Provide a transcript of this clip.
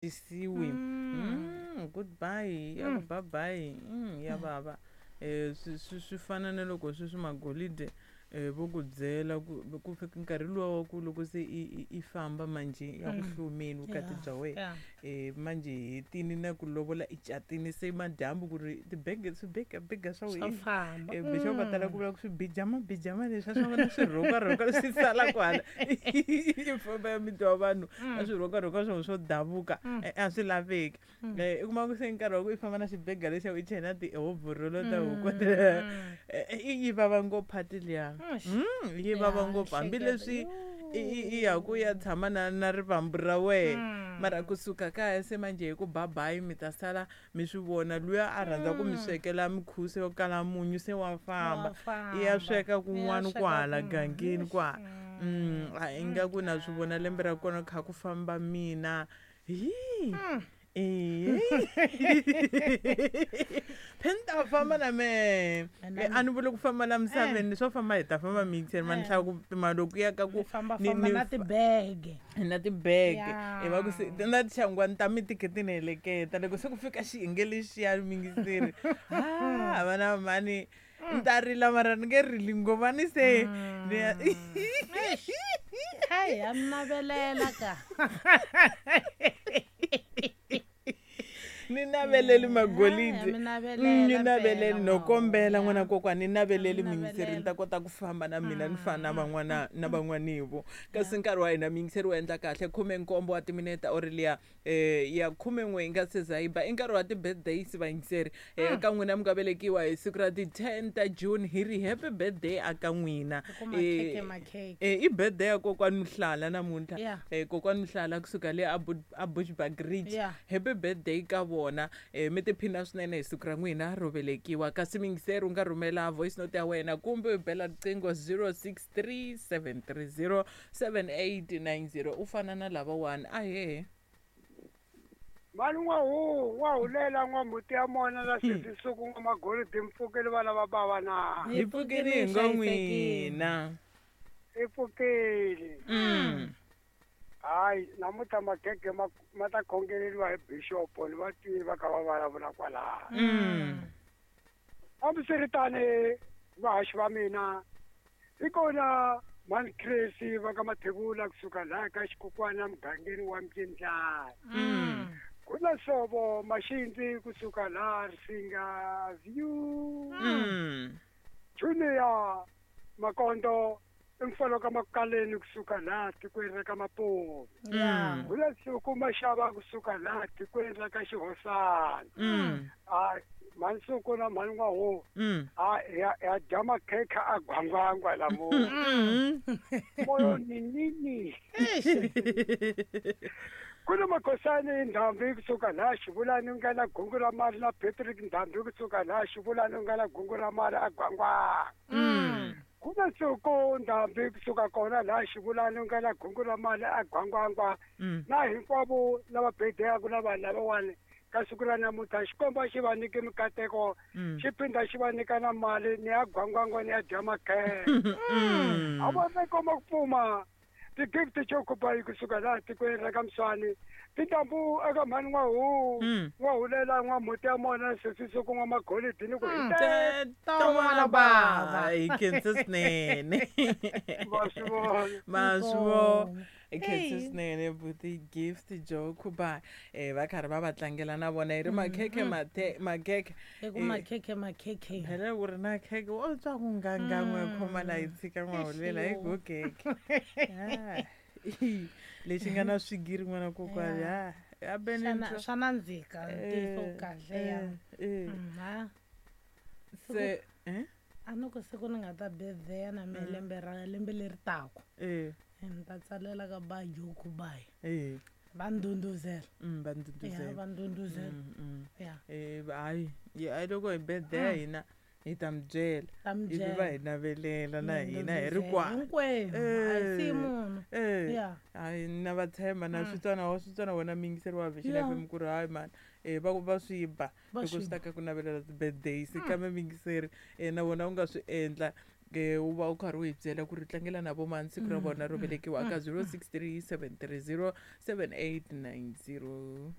Tisiwi. Goodbye ya ku bye bye ya vava. Swi fana na loko sweswi magolide vo ku byela ku ku fika nkarhi luwa wa ku loko se i famba manjhe ya ku hlomeni vukati bya wena. Manjhe hi hetini na ku lovola i catini se madyambu ku ri tibege swibegabega swa Swa wena. famba. Bixopo va tala ku vula ku swibijamabijama leswiya swa vona swirhokarhoka swi sala kwala i famba ya miti wa vanhu a swirhokarhoka swona swo davuka a swi laveki. I kuma ku se nkarhi wa ku i famba na xibega lexiya u chela tihovhorolo ta huku yi vava ngopfu phati liya. Yi vava ngopfu hambileswi i ya ku ya tshama na rivambu ra wena mara kusuka kaya se manjhe hi ku bye bye mi ta sala mi swi vona luya a rhandza ku mi swekela mikhusi yo kala munyu se wa famba i ya sweka kun'wana kwahala gangeni kwa a ingaku na swi vona lembe ra kona kha ku famba mina hi phe ni ta famba na mehe a ni vuli ku famba la misaveni swo famba hi ta famba mixer ma ni hlaya ku pima loku ya ka ku famba na tibege na tibege hi va ku se na tixangwani ta mi tikhe ti ni heleketa loko se ku fika xiyenge lexiya mingiseri ha vana mhani ni ta rila mara ni nge rili ngopfu a ni se ni ya hayi ya mi navelela ka ni naveleli magolidi mi navelela ni naveleli mpela, no kombela n'wana ya. kokwani ni naveleli Mi miyingiseri ni ta navelela. kota ku famba na mina ni fana na van'wana na van'wanivo kasi nkarhi wa hina miyingiseri wu endla kahle 17 wa timinete or liya ya 11 yi nga se za yi ba i nkarhi wa ti-birthdays vayingiseri ka n'wina mi nga velekiwa hi siku ra ti-10 ta June hi ri happy birthday a ka n'wina. Hi ku makhekhe, makhekhe. I birthday ya kokwani Mhlala namuntlha. Kokwani Mhlala kusuka le a Bushbuck Ridge. Happy birthday ka vona. Mi tiphina swinene hi siku ra n'wina ro velekiwa kasi miyingiseri u nga rhumela voice note ya wena kumbe u bela riqingho 063 730 7890 u fana na lavawani ahee. Mani n'wahu n'wahulela n'wamhuti ya mona na sesisuku n'wamagolidi mpfukeli vana va bava na. Hi pfukile hi ngo n'wina. Hi pfukile. Hayi namuntlha magege ma ta khongeleriwa hi bishop ni va twile va kha va vulavula kwalaho. Hambiswiritano vahaxi va mina hi kona mhani Chris va ka Mathebula kusuka laha ka xikukwana mugangeni wa Mbyindlana. Ku na Sovo Maxindzi kusuka laha Risinga View. Junior Makondo i mfana ka Makaleni kusuka laha tikweni ra ka Mapuve. Ku na Suku Maxava kusuka laha tikweni ra ka Xihosana. Hayi mhani Suku na mhani N'wahu a ya dya makhekhe a gwangwangwa lamuntlha. Moyo ninini. Ku na Makhosani Ndhambi kusuka laha Xivulani nga na gungu ra mali na Patrick Ndhambi kusuka laha Xivulani nga na gungu ra mali a gwangwangwa. Ku na Suku Ndhambi kusuka kona laha Xivulani nga na gungu ra mali a gwangwangwa. Na hinkwavo lava bedeyaka na vanhu lavawani ka siku ra namuntlha Xikwembu a xi va nyiki mikateko xi phinda xi va nyika na mali ni ya gwangwangwa ni ya dya makhekhe. A va ta komba ku pfuma ti-gift chokubayi kusuka laha tikweni ra ka Mswani tintambu eka mhani N'wahu N'wahulela N'wamhuti ya mona sesisuku N'wamagolidi ni ku hi Ton'wana bava hi khensa swinene. Va swi vona. Ma swi vona. Hi khensa swinene buti Gift Jokuba va karhi va va tlangela na vona hi ri makhekhe makhekhe. Hi ku makhekhe makhekhe. Phela ku ri na khekhe wo twa ku ngangan'we khoma la hi tshika N'wahulela hi go khekhe. Lexi nga na swigiri n'wana kokwani ha. A bene Swa nandzika ntiyiso kahle ya. Ha. Se, A ni ku siku ni nga ta birthday na mehe lembe ra lembe leri taka. Ni ta tsalela ka ba Jokubai. Va ndhundhuzela. Va ndhundhuzela. Ya, va ndhundhuzela. Ya. Hayi, ya, loko hi birthday ya hina hi ta mi byela. Ta mi Ivi byela. va hi navelela na Mi hina hi ri ndhundhuzela. kwala. Hinkwenu. A hi siyi munhu. Ya. Hayi, na va tshemba na switswana wa switswana wona miyingiseri wa Vision FM ku ri hayi mani. Va ku va swi ba Va loko swi swi ta ka ku navelela ti-birthdays kambe miyingiseri na wona u nga swi endla. Ke u va u karhi u hi byela ku ri tlangela na vomani siku ra vona ro velekiwa ka 0637307890.